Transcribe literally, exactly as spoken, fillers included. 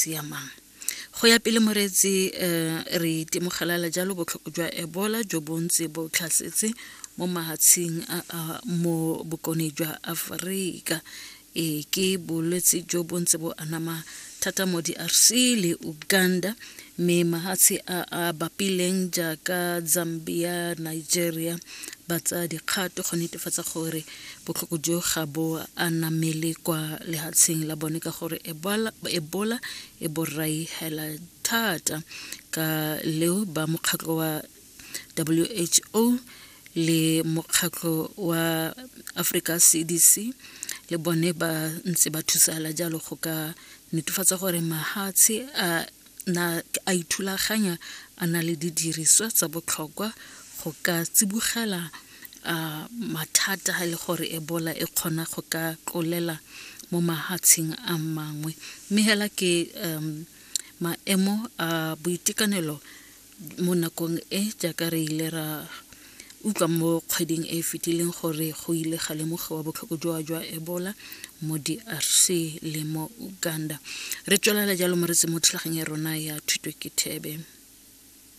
siamang. Go ya pele moreetsi, um re itemogela jalo botlhoko jwa Ebola jo bo ntse bo tlhasetse mo mahatsheng a a mo bokone jwa Aforika. E ke bolwetse jo bo ntse bo anama thata mo D R C le Uganda, mme mahatshe a a bapileng jaaka Zambia, Nigeria ba tsaya dikgato go netefatsa gore botlhoko jo ga bo anamele kwa lehatsheng la bone, ka gore ebola, ebola e borai hela thata. Ka leo ba mokgatlho wa W H O le mokgatlho wa Africa C D C le bone ba ntse ba thusala jalo go ka netefatsa gore mahatshe a na a ithulaganya, a na le didiriswa tsa botlhokwa go ka tsibogela a mathata ha e le gore Ebola e kgona go ka tlolela mo mahatsheng a mangwe. Mme hela ke um maemo a boitekanelo mo nakong e, jaaka re ile ra utlwa mo kgweding e e fetileng gore go ile ga lemogiwa botlhoko jwa jwa Ebola mo D R C le mo Uganda. Re tswelela jalo moretsi mo thulaganyo ya rona ya Thuto ke Thebe.